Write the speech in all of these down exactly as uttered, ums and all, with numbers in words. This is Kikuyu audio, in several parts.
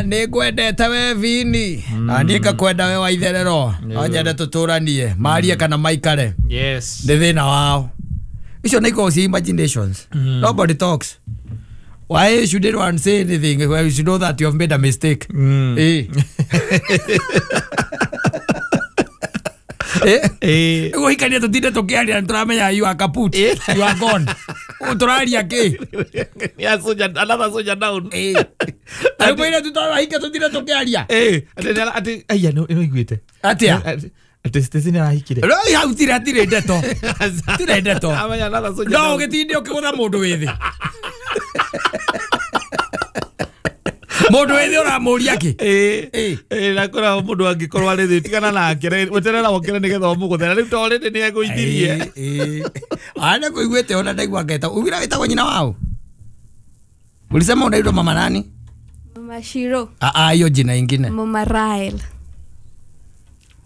Nĩngwendete we Vini na niĩ ngakwenda we Waitherero no nyende tũtũranie marie kana maikare. Yes. Nĩ thĩna wao icio nĩ ikoragwo ci imaginations. Nobody talks. Why should anyone say anything when you should know that you have made a mistake? Mm. Eh. Eh. Eh. Guhikania tutinde tukiaria nituramenya you are kaput. You are gone. Uturaria ki? Yeah, soldier, another soldier down. Eh. Rĩu mwĩre tũtarahika tutinde tukiaria. Eh, ati ati aya no ino iguite. Atia? Ati Stacy nĩ arahikire. Rĩu hau tirĩ hatirĩ ndeto. Tirĩ ndeto. Amenya another soldier. No down. ũgĩtinde ũkĩgũtha mũndũ wĩ thĩ. Mũndũ wĩ thĩ ũramũria kĩ? Eh. Eh. Eh, na kora mũndũ angĩkorwo arĩ thĩ tigana nake weterera wokere nĩgetha ũmũgũthe na rĩu to already nĩ egũithirie. Eh. Ana kuiguĩte ona ndaigua ngeta. Ugira wĩtagwo nyina wao? Ulisema unaitwa mama nani? Mama Shiro. Ah ah, hiyo jina ingine. Mama Rael.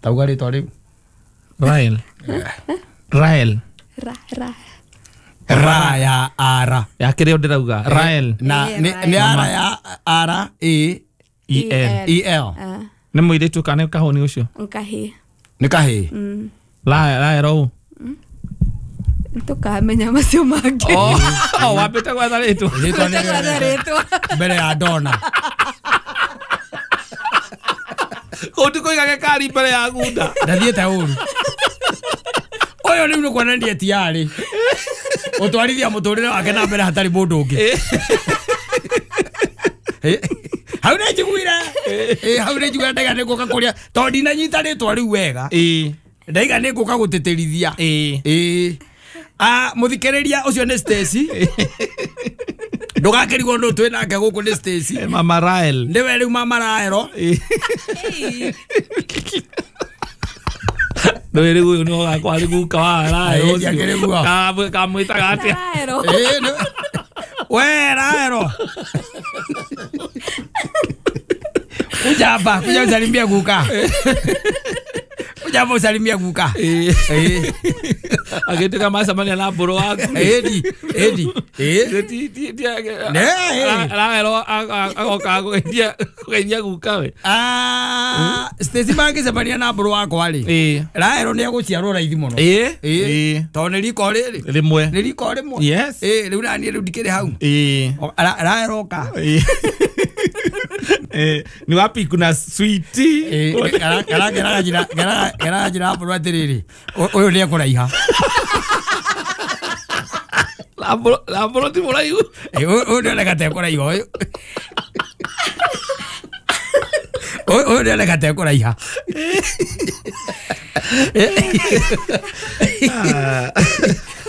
Tauga rĩtwa rĩu. Rael. Rael. Ra ra. Ra ya ara. Ya kĩrĩa ndĩrauga Rael. Na Eh, nĩ Rael. nĩ ara ya ara E E L. E L. Ah, Nĩ mũirĩtu kana nĩ kahũni ũcio? Nkahi. Nĩ kahĩĩ. Mm. Rael Rael ũũ. Ntukamenya macio mangĩ. Oh, wambĩte gwetha rĩtwa. Rĩtwa nĩ Gwetha rĩtwa. mbere ya Dona. Kũu ti kũiga gĩkari mbere ya gunda. Ndathiĩte ũru. Ũyũ rĩu nĩ kuonania ti arĩ. Ũtwarithia mũtũrĩre wake na mbere hatarĩ mũndũ ũngĩ. Eh, hau nĩ njiguire. Eh, hau nĩ njiguire ndaiga nĩ ngũka kũrĩa tondũ ndinanyita rĩtwa rĩu wega. Ĩĩ. Ndaiga nĩ ngũka gũtĩtĩrithia. Ĩĩ. Ĩĩ. Ah, mũthikĩrĩria ũcio nĩ Stacy. Ndũgakĩrigwo nũ twĩ nake gũkũ nĩ Stacy. Mama Rael. Nĩwe rĩu mama Raelo. Nĩ rĩu ũyũ nĩwe ũgakorwo arĩ guka wa Rael Ĩĩ, ũcio. ndiakĩrĩ guo. Ka- kamwĩtaga atĩa? Raelo. Ĩĩ, nĩ- We Raelo. Kuja hapa, kuja usalimie guka. Kuja hapa usalimie guka. Ĩĩ. Ĩĩ. Agĩtuĩka macemania na mbũrũ waku. Ĩni, ĩni. Ĩĩ. Ti- ti- ti- Ne, ĩĩ. Rael agoka kũgeithia kũgeithia guka we. Ah, Stacy mangĩcemania na mbũrũ wakwa rĩ. Ĩĩ. Raelo nĩ egũciarwo raithi mũno. Ĩĩ. Ĩĩ. Ĩĩ. Tondũ nĩ riko rĩrĩ. Rĩmwe. Nĩ riko rĩmwe. Yes. Ĩĩ, rĩu naniĩ rĩu ndikĩrĩ hau. Ĩĩ. O, Ra- Raelo oka. Ĩĩ. Eh, ni wapi kuna sweetie? Ĩĩ, gara- gara- geraga njĩra- geraga- geraga njĩra mbũrũ atĩrĩrĩ, ũ- ũyũ nĩ ekũraiha. Na mbũrũ na mbũrũ ti mũraihu. Ĩĩ, ũyũ ũyũ nĩoneka ta ekũraiha ũyũ. Ũyũ ũyũ nĩoneka ta ekũraiha.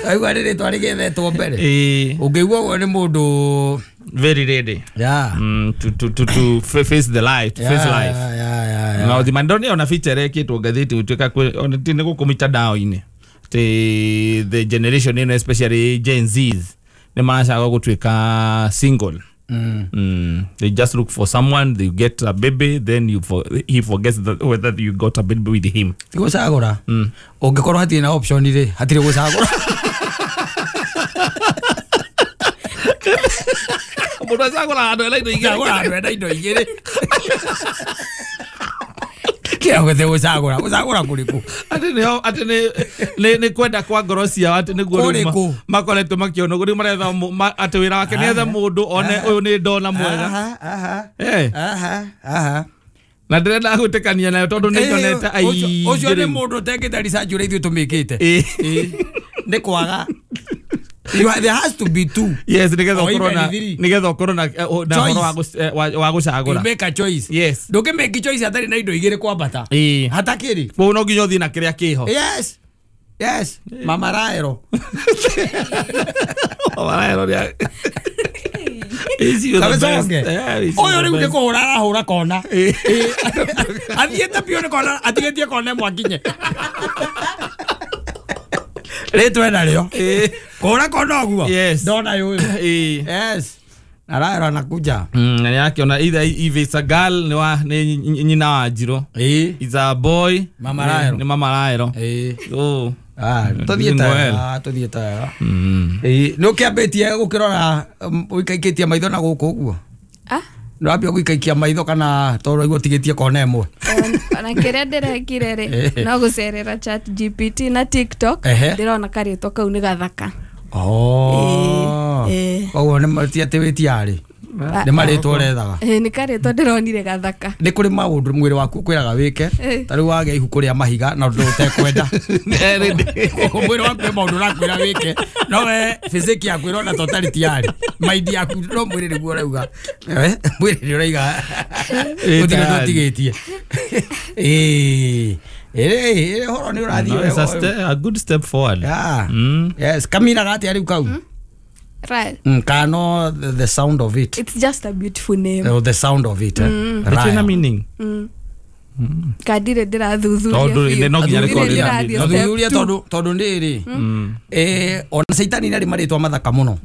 Aigua nĩ rĩtwa rĩgethetwo mbere. Ĩĩ. Ũngĩigua ũguo nĩ mũndũ Very ready. Yeah. Mm, to to to to fa- face the life, to face Yeah, life. yeah, yeah, yeah. Na ũthima ndonire ona feature ĩkĩtwo ngathĩti gũtuĩka kwĩ ona ti nĩ gũkũ mitandao-inĩ atĩ the generation ĩno especially Gen Zs nĩ maracagũra gũtuĩka single. Mm. Mm. They just look for someone, they get a baby, then you for, he forgets that whether you got a baby with him. Ti gũcagũra. Mm. Ũngĩkorwo hatirĩ na option rĩ, hatirĩ gũcagũra. Mũndũ acagũraga andũ ena indo igĩrĩ. Gũcagũra andũ ena indo igĩrĩ. Kĩrĩa gũthĩ gũcagũra, gũcagũra kũrĩkũ? Atĩ nĩo atĩ nĩ nĩ nĩ kwenda kwa ngoro ciao atĩ nĩguo rĩu ma- Kũrĩkũ? makoretwo makĩona ũguo rĩu maretha mũ- ma- atĩ wĩra wake nĩ ethe mũndũ one ũyũ nĩ ndona mwega. Aha, aha. Eh. Aha, aha. Na ndĩrenda gwĩtĩkania nayo tondũ nĩ nyonete Ĩĩ, ũcio- ũcio aingĩ nĩ rĩu. mũndũ ũtekĩte research ũrĩa ithuĩ tũmĩkĩte. Ĩĩ. Ĩĩ. Nĩ kwaga. You are, there has to be two. Yes, nĩgetha Or ũkorwo even na three. nĩgetha ũkorwo na eh, na Choice. ũhoro wa gũc- eh, wa- wa You gũcagũra. make a choice. Yes. Ndũngĩmake choice hatarĩ na indo igĩrĩ kwambata. Ĩĩ. Hatakĩrĩ. Koguo no nginya ũthiĩ na kĩrĩa kĩho. Yes. Yes. Mama Raelo. Mama Raelo nĩ Is you the best. Kabesonge. Yeah, is you Ũyũ the rĩu nĩ best. kũhũra arahũra kona. Ĩĩ. Athiĩte biũ nĩ kona, atigĩtie kona ĩmwe akinye. Rĩtwa ena rĩo. Ĩĩ. Kũhũra kona ũguo. Yes. Ndona ũyũ. Ĩĩ. Yes. Na Raelo anakuja. Mm, na nĩarakĩona either if it's a girl nĩ wa nĩ nyina wa Njirũ. Ĩĩ. It's a boy Mama nĩ- Raelo. nĩ Mama Raelo. Ĩĩ. Oh. Ah, Doing tũthiĩte well. wega, tũthiĩte wega. Mm. Ĩĩ, nĩ ũkĩambĩtie gũkĩrora um, ũikaikĩtie maitho na gũkũ ũguo? Ah, Nĩwambia gũikaikia maitho kana tondũ waigua ũtigĩtie kona ĩmwe? Ona kĩrĩa ndĩrekire rĩ, no gũcerera Chat G P T na TikTok. Ehe. Ndĩrona karĩtwa kau nĩ gathaka. Oh. Ĩĩ. Koguo nĩ ti atĩ wĩtiarĩ, nĩ marĩtwa ũrethaga? Ĩĩ, nĩ karĩtwa ndĩronire gathaka. Nĩ kũrĩ maũndũ mwĩrĩ waku ũkwĩraga wĩke. Eh. Ta rĩu wagĩa ibuku rĩa mahiga na ũndũ ũtekwenda. Koguo mwĩrĩ waku kwĩ maũndũ ũrakwĩra wĩke, no we physique yaku ĩrona ta ũtarĩ tiarĩ, mind yaku, no mwĩrĩ nĩguo ũrauga. Eh, mwĩrĩ nĩ ũraiga Ĩ gũtirĩ ũndũ tayari. ũtigĩtie. Ĩĩ, ĩĩ, ũhoro nĩ ũrathiĩ No, it's a, wega. ste- a good step forward. Yeah. Mm. Yes, kaminaga atĩa rĩu kau? Right. Mm, kano the, the sound of it. It's just a beautiful name. Oh, the sound of it, eh? Ĩtirĩ na Raya. meaning. Kandirĩ ndĩrathuthuria Tondũ biũ. no nginya Ndirĩ rĩkorwo rĩna ndĩrathiĩ meaning. step Thuthuria. two. Tondu tondu ndĩrĩ eh ona caitani nĩ arĩ marĩtwa mathaka mũno.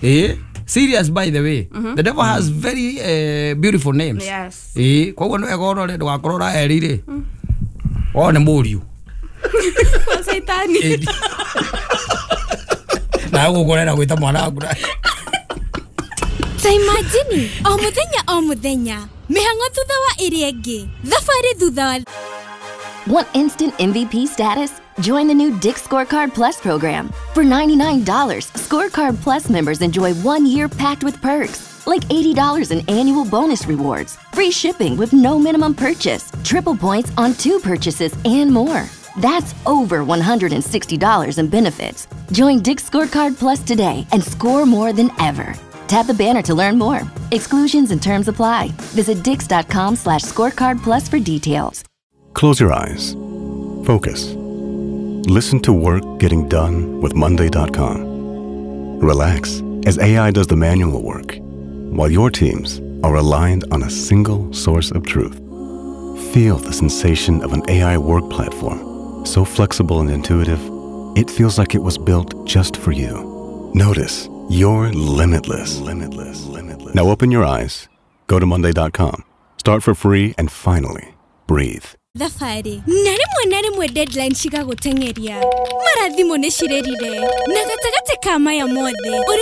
Eh, serious, by the way, the devil has very uh, beautiful names. Yes. Eh, koguo nĩ wega ũrore ndũgakorwo ũraeri rĩ wone mũriũ. Kwa caitani. Nawe gũkũ ũrenda gwĩta mwana waku na- Ta imagine o muthenya o muthenya, mĩhang'o thutha wa ĩrĩa ĩngĩ, thabarĩ thutha wa Want instant M V P status? Join the new Dick's Scorecard Plus program. For ninety-nine dollars, Scorecard Plus members enjoy one year packed with perks, like eighty dollars in annual bonus rewards, free shipping with no minimum purchase, triple points on two purchases, and more. That's over one hundred sixty dollars in benefits. Join Dick's Scorecard Plus today and score more than ever. Tap the banner to learn more. Exclusions and terms apply. Visit dicks dot com slash scorecard plus for details. Close your eyes. Focus. Listen to work getting done with Monday dot com. Relax as A I does the manual work, while your teams are aligned on a single source of truth. Feel the sensation of an A I work platform, so flexible and intuitive, it feels like it was built just for you. Notice you're limitless. Limitless. Limitless. Now open your eyes, go to Monday dot com, start for free, and finally breathe. Thabarĩ na rĩmwe na rĩmwe, deadline cigagũteng'eria, mara thimũ nĩ cirĩrire, na gatagatĩ ka maya mothe ũrĩ